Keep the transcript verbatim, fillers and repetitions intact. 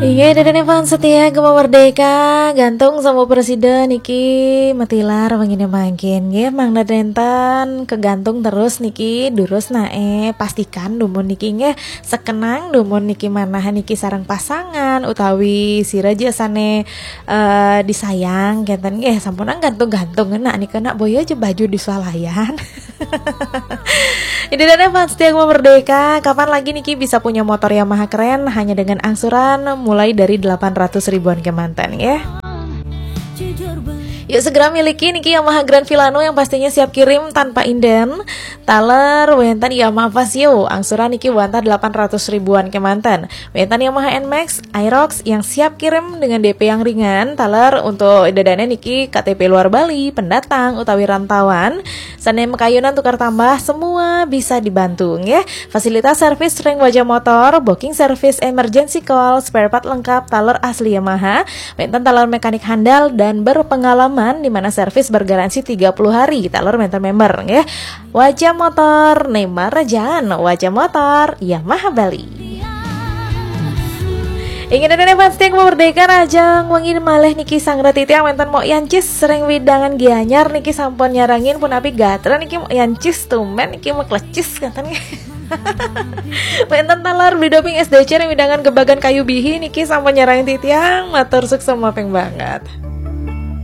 Iya, dadan fans setia Gema Merdeka, gantung sama presiden niki matilar wengine mangkin nggih, mangda nenten kegantung terus niki, durus nae, pastikan dumun niki nggih sekenang dumun niki manah niki sareng pasangan utawi sira ja sane eh, disayang kenten nggih, sampunang gantung-gantung enak nika nak boya aja baju di swalayan. Ini dan fans setia Gema Merdeka, kapan lagi niki bisa punya motor Yamaha keren hanya dengan angsuran mulai dari delapan ratus ribuan kemanten ya. Yuk segera miliki niki Yamaha Grand Filano yang pastinya siap kirim tanpa inden. Taler wenten Yamaha Fazzio, angsuran niki wantah delapan ratus ribuan kemanten. Wenten Yamaha Nmax, Aerox yang siap kirim dengan D P yang ringan. Taler untuk dadane niki K T P luar Bali, pendatang utawi rantauan. Sane makayunan tukar tambah, semua bisa dibantu nggih. Fasilitas servis ring Waja Motor, booking service, emergency call, spare part lengkap, taler asli Yamaha, wenten taler mekanik handal dan berpengalaman di mana servis bergaransi tiga puluh hari, taler wenten member nggih. Waja Motor, Nemar Rajan, Waja Motor, Yamaha Bali. Ingin ada fans yang merdeka rajang wengin malih niki sang rati tiang wenten mok yancis sering widangan gianyar niki sampun nyarangin pun api gatra niki mok yancis tumen niki mok lecis kenten. Wenten talar beli doping S D C ring widangan gebagan kayu bihi niki sampun nyarangin titiang matur sukses mapeng banget.